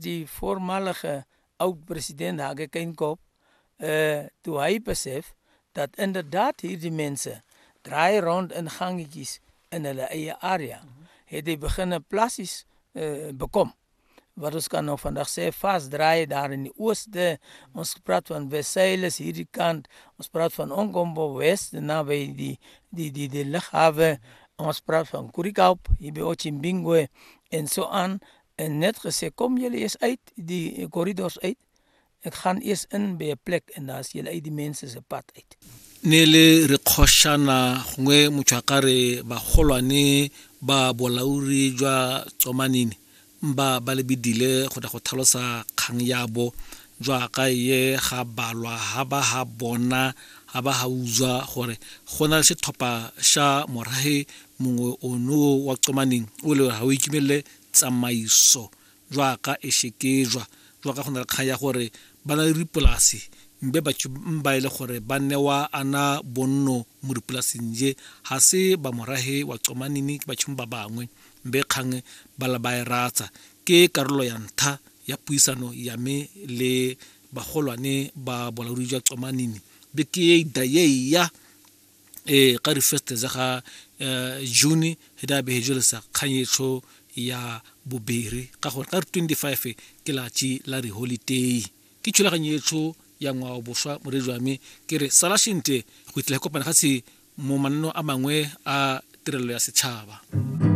die voormalige oud-president Hage Geingob, toe hy besef dat inderdaad hierdie mense draai rond in gangetjies in hulle eie area, het hy begin plasies bekom. Wat ons kan nou vandag sê, vasdraai daar in die ooste. Ons praat van Versailles hierdie kant, ons praat van Ongombo West, naby die lughawe. Ons praat van Kurikaup, hier by Otjimbingwe en so aan. En net gesê, kom julle eers uit, die corridors uit. Ek gaan eers in by 'n plek en daar is julle uit die mense se pad uit. Ne le re kgošana gongwe motho a ka re bagolwane ba bolauri jwa Tsomanini ba ba lebidile go tla go tlhalosa kgang ya bo jwa ka ye ga balwa ha ba ha bona ha ba ha utswa gore go na le setlhopha sa morahe mongwe ono wa Tsomaneng o le ga o ikemelele tsamaiso jwa ka e shekejwa jwa ka go na le kgang ya gore ba na le dipolase mbe batho ba e le gore ba newa ana bonno mo dipolaseng je ga se ba morahe wa Tsomanini, ke batho ba bangwe mbe kgang ba la ba e ratsa. Ke karolo ya ntlha ya puisano ya me le bagolwane ba bolaodi jwa Tsomanini be ke e ida ye ya e ka di-first tsa ga June he da be jelesa kganyetsho ya bobere ka gore ka 25 ke latši la di-holiday. Ke thulaganyo ya ngwao boswa moredi wa me ke re sala shente go itlhela kopana ga se mo manno a mangwe a tirelo ya setšhaba.